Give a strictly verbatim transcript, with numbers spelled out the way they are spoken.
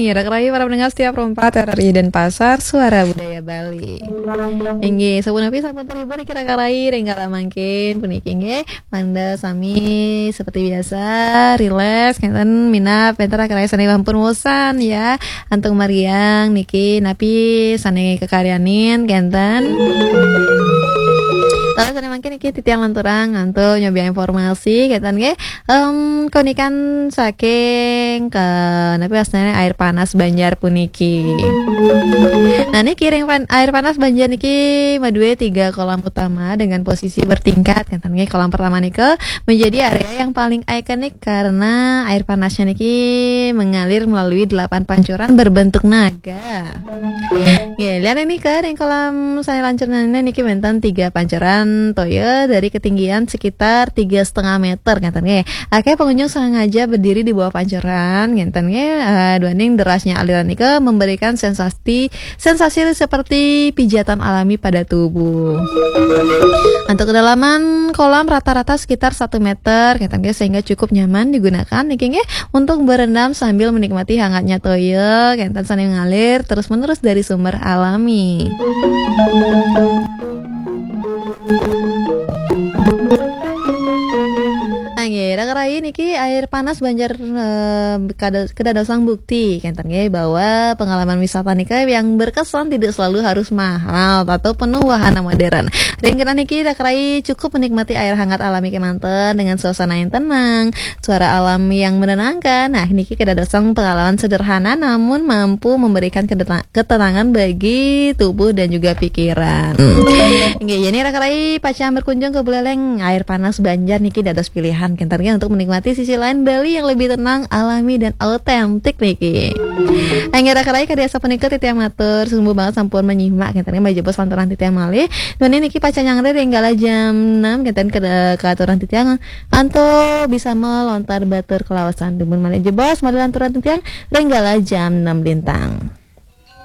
Kira-kira para pendengar setiap rompat R R I Denpasar, Suara Budaya Bali. Inggih, sapunapi sampun terhibur kira-kira ring kala mangkin puniki nggih. Mangda sami seperti biasa, rileks, kenten minab, kenten kira-kira sane ampun bosan ya. Antuk mariang niki napi sane kekaryanin, kenten. Terus sane mangkin niki titiang lanturang antuk nyobi informasi, kenten nggih. Em, konikan saking ke, napi wastane air panas Banjar puniki. Nah, niki ring pan-, air panas Banjar niki madue tiga kolam utama dengan posisi bertingkat. Kenten nggih, kolam pertama nika menjadi area yang paling ikonik karena air panasnya niki mengalir melalui delapan pancuran berbentuk naga. Nggih, lihat ini ke ring kolam sane lancurna niki wenten tiga pancuran toya dari ketinggian sekitar tiga setengah meter, kenten nggih. Akeh pengunjung sengaja berdiri di bawah pancuran, kenten nggih, eh, duaning derasnya aliran nika memberikan sensasi, sensasi seperti pijatan alami pada tubuh. Untuk kedalaman kolam rata-rata sekitar satu meter, kenten nggih, sehingga cukup nyaman digunakan niki nggih untuk berendam sambil menikmati hangatnya toya, kenten sane ngalir terus-menerus dari sumber alami. Nggih, raka rayi niki air panas Banjar, eh, kada-, kedadosang bukti, kenten nggih, bahwa pengalaman wisata nika yang berkesan tidak selalu harus mahal atau penuh wahana modern. Ring kene niki raka rayi cukup menikmati air hangat alami kemanten dengan suasana yang tenang, suara alam yang menenangkan. Nah, niki kedadosang pengalaman sederhana namun mampu memberikan kedeta-, ketenangan bagi tubuh dan juga pikiran. Nggih, yen raka rayi pacang berkunjung ke Buleleng, air panas Banjar niki dados pilihan kenten nggih untuk menikmati sisi lain Bali yang lebih tenang, alami dan autentik niki. Nggih, raka rayi kadi asapunika titiang matur, sumbu banget sampun menyimak kenten nggih, jebos lanturang titiang malih. Duaning niki pacang nyanggra ring kala jam enam kenten ke, keaturan titiang antuk bisa melontar batur kelawasan dumun malih jebos malih lanturang titiang ring kala jam enam lintang.